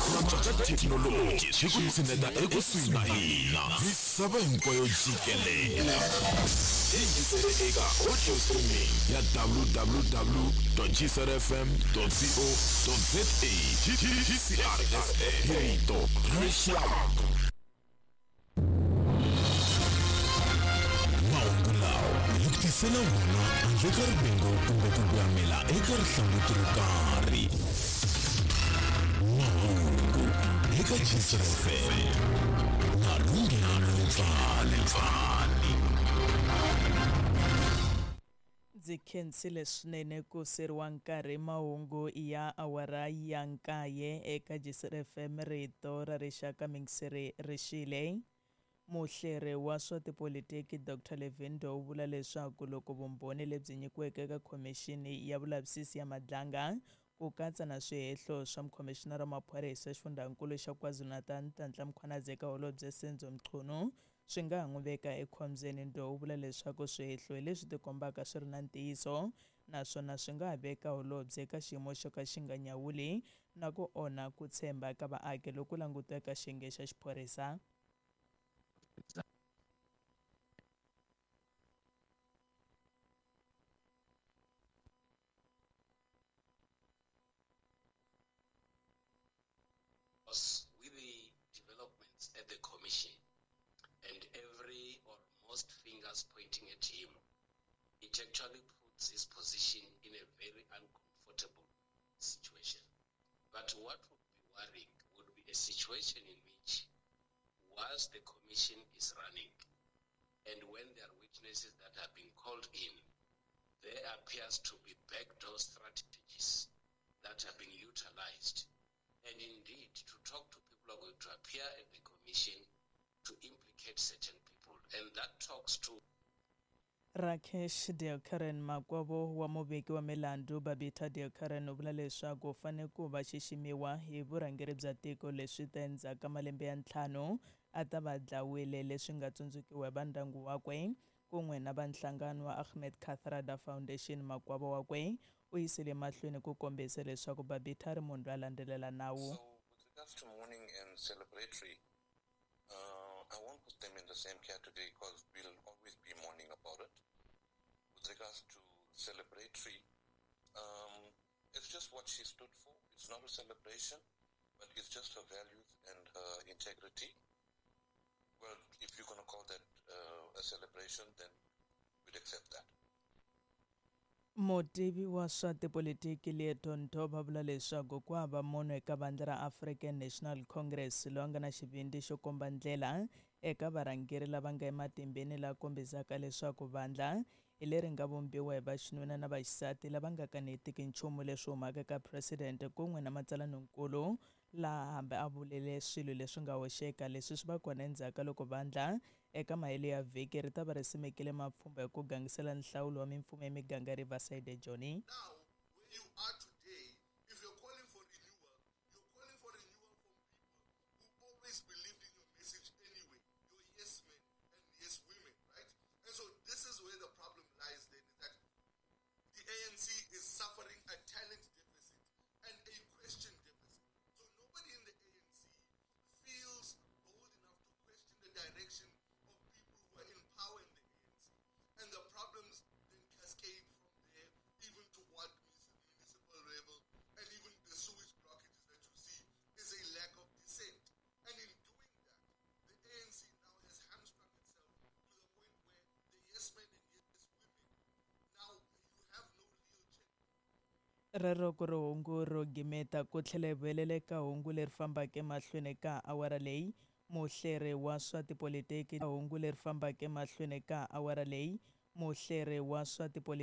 Ku cinca ka thekinoloji swi ku tshineta ekusuhi na hina misava hinkwayo jikelele. Yingisele eka audio streaming ya www.gcrfm.co.za. GCRFM, rito ra rixaka. Mahungu lawa hi ku tisela wona handle ka rivengo kumbe ku gwamela eka rihlanguti ro karhi. Mahungu eka GCRFM na Lunghelo Letsale. Ndzi khensile swinene ku seriwa nkarhi. Mahungu ya awara ya 9 eka GCRFM, rito ra rixaka. Mingiseri rixile. Muhleri wa swa tipolitiki Dr Levin u vula leswaku loko vumbhoni lebyi nyikiweke eka khomixini ya vulavisisi ya Madlanga, ku katsa na swihehlo swa mukhomishinara wa maphorisa xifundzankulu xa KwaZulu-Natal Nhlanhla Mkhwanazi eka holobye Senzo Mchunu, swi nga ha n'wi veka ekhombyeni. Ndo u vula leswaku swihehlo hi leswi tikombaka swi ri na ntiyiso, naswona swi nga ha veka holobye eka xiyimo xo ka xi nga nyawuli na ku onha ku tshemba ka vaaki loku languteka xiyenge xa xiphorisa. With the developments at the commission and every or most fingers pointing at him, it actually puts his position in a very uncomfortable situation. But what would be worrying would be a situation in which, whilst the commission is running, and when there are witnesses that have been called in, there appears to be backdoor strategies that are being utilized. And indeed, to talk to people who are going to appear at the commission to implicate certain people. And that talks to Rakesh Deokaran, makwavo wa muveki wa milandzu Babita Deokaran, u vula leswaku u fanele ku va xiximiwa hi vurhangeri bya tiko, leswi ta endzhaku ka malembe ya 5 a ta va dlawile, leswi nga tsundzukiwa hi va ndyangu wakwe kun'we na va nhlangano wa Ahmed Kathrada Foundation. Makwavo wakwe u yisile mahlweni ku kombisa leswaku Babita ri munhu loyi a landzelela nawu. So, with regards to mourning and celebratory, I won't put them in the same category because we'll always be mourning about it. With regards to celebratory, it's just what she stood for. It's not a celebration, but it's just her values and her integrity. Well, if you're going to call that a celebration, then we'd accept that. Mutivi wa swa tipolitiki Leeto Ntho va vula leswaku ku hava munhu eka vandla ra African National Congress loyi a nga na xivindzi xo komba ndlela eka varhangeri lava nga ematimbeni, la kombisaka leswaku vandla hi leri nga vumbiwa hi vaxinuna na vaxisati lava nga kanetiki nchumu leswi humaka eka president kun'we na matsalaninkulu, laha hambi a vulele swilo leswi nga hoxeka. Leswi swi va kona endzhaku ka loko vandla eka mahelo ya vhiki ri ta va ri simekile mapfhumba hi ku gangisela nhlawulo wa mimfumo ya miganga Riverside Joni. Now, where you are today, if you're calling for renewal, you're calling for renewal from people who always believed in your message anyway, your yes men and yes women, right? And so this is where the problem lies then, is that the ANC is suffering a talent deficit and a question deficit. So nobody in the ANC feels bold enough to question the direction of people who are in power in the ANC. And the problems then cascade from there, even to what municipal level, and even the sewage blockages that you see is a lack of dissent. And in doing that, the ANC now has hamstrung itself to the point where the yes men and yes women, now you have no real check. Rero ku ri hungu ro gimeta ku tlhela hi vuyelela eka hungu leri fambaka emahlweni ka awara leyi. Muhleri wa swa tipolitiki, hungu leri fambaka emahlweni ka awara leyi, muhleri wa swa tipolitiki.